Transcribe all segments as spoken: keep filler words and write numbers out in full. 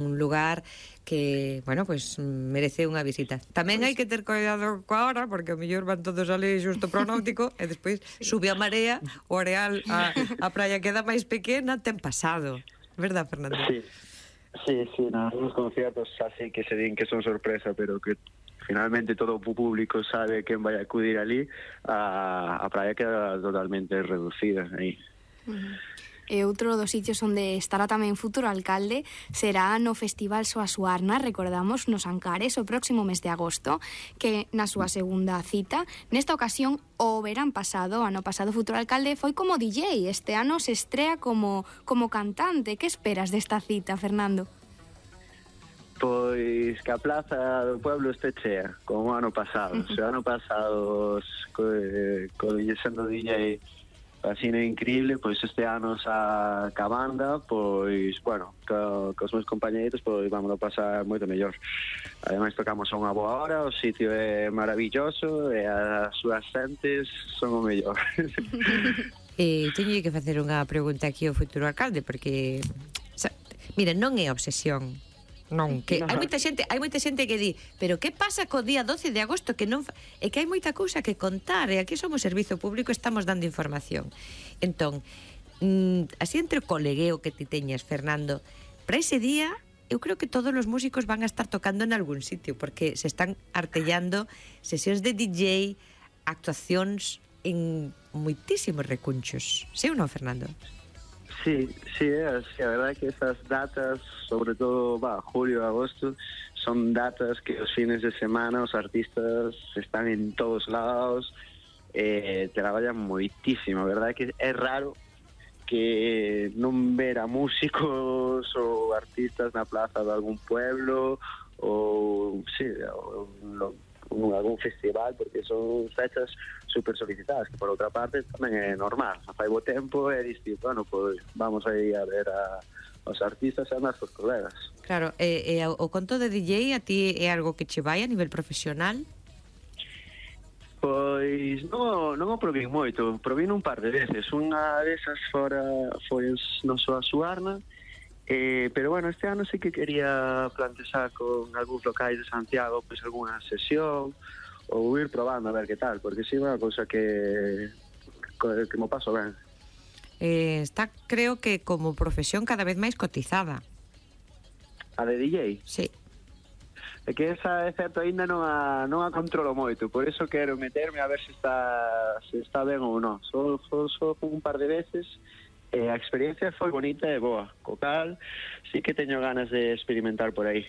un lugar que, bueno, pues merece unha visita. Tamén hai que ter cuidado coa hora, porque o mellor van todos ali xusto pro náutico e despois sube a marea, o areal, a, a praia queda máis pequena, ten pasado. Verdad, Fernando? Sí, sí, sí, nos conciertos así que se din que son sorpresa, pero que finalmente todo o público sabe quen vai acudir ali, a, a praia queda totalmente reducida aí. Uh-huh. E outro dos sitios onde estará tamén futuro alcalde será no Festival Soa Suarna, recordamos, nos Ancares, o próximo mes de agosto, que na súa segunda cita. Nesta ocasión, o verán pasado, ano pasado, futuro alcalde foi como D J, este ano se estrea como, como cantante. Que esperas desta cita, Fernando? Pois que a plaza do pueblo este chea, como o ano pasado. Se o ano pasado co, co, sendo D J así é increíble, pois este ano xa ca banda, pois, bueno, co, cos meus compañeiros, pois vamos a pasar moito mellor. Ademais tocamos a unha boa hora, o sitio é maravilloso e as súas xentes son o mellor. eh, Teño que facer unha pregunta aquí ao futuro alcalde, porque, xa, mira, non é obsesión. Non, que hai moita xente, hai moita xente que di, pero que pasa co día doce de agosto que non fa... é que hai moita cousa que contar, e aquí somos servizo público, estamos dando información. Entón, mm, así entre o colegueo que ti teñas, Fernando, para ese día eu creo que todos os músicos van a estar tocando en algún sitio, porque se están artellando sesións de D J, actuacións en moitísimos recunchos. Sí ou non, Fernando? Sí, sí, é así. A verdade é que esas datas, sobre todo, va, julio, agosto, son datas que os fines de semana os artistas están en todos lados, eh, traballan moitísimo. A verdade é que é raro que non ver a músicos ou artistas na plaza de algún pueblo ou, sí, ou, ou, ou algún festival, porque son fechas super solicitadas, que por outra parte tamén é normal. Fai bo tempo e diste, bueno, pois vamos a ir a ver a, os artistas e a nossos colegas. Claro, e, e o conto de D J a ti é algo que che vai a nivel profesional? Pois non, non o probín moito, probín un par de veces. Unha desas fora foi no Soa Suarna, eh, pero bueno, este ano sí que quería plantexar con algúns locais de Santiago pois algunha sesión, ou ir probando a ver que tal, porque si é unha cousa que que mo paso ben. Eh, está, creo que como profesión cada vez máis cotizada. A de D J? Sí. É que esa, é certo, ainda non a, non a controlo moito, por eso quero meterme a ver se está se está ben ou non. Só, só, só un par de veces, e a experiencia foi bonita e boa. Co cal, sí que teño ganas de experimentar por aí.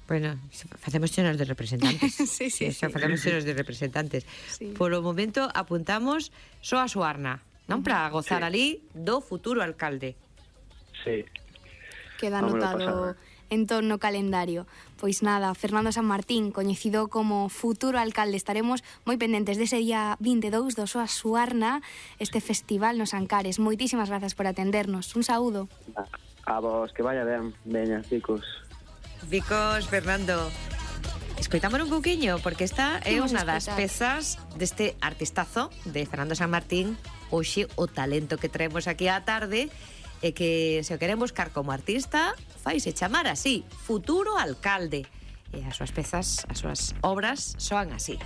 Bueno, facemos chenos de representantes. Sí, sí, sí. Facemos chenos de representantes. Sí. Por o momento apuntamos Soa Suarna, non? Para gozar sí. ali do futuro alcalde. Sí. Queda Vámonos anotado en torno ao calendario. Pois nada, Fernando San Martín, coñecido como futuro alcalde, estaremos moi pendentes dese día vinte e dous do Soa Suarna, este festival nos Ancares. Moitísimas grazas por atendernos. Un saúdo. A vos, que vaya ben. Veña, chicos. Vicos, Fernando, escoitámoslo un pouquiño, porque esta é unha das pezas deste artistazo de Fernando San Martín. Hoxe o talento que traemos aquí á tarde, e que se o queren buscar como artista, faise chamar así, futuro alcalde, e as súas pezas, as súas obras soan así.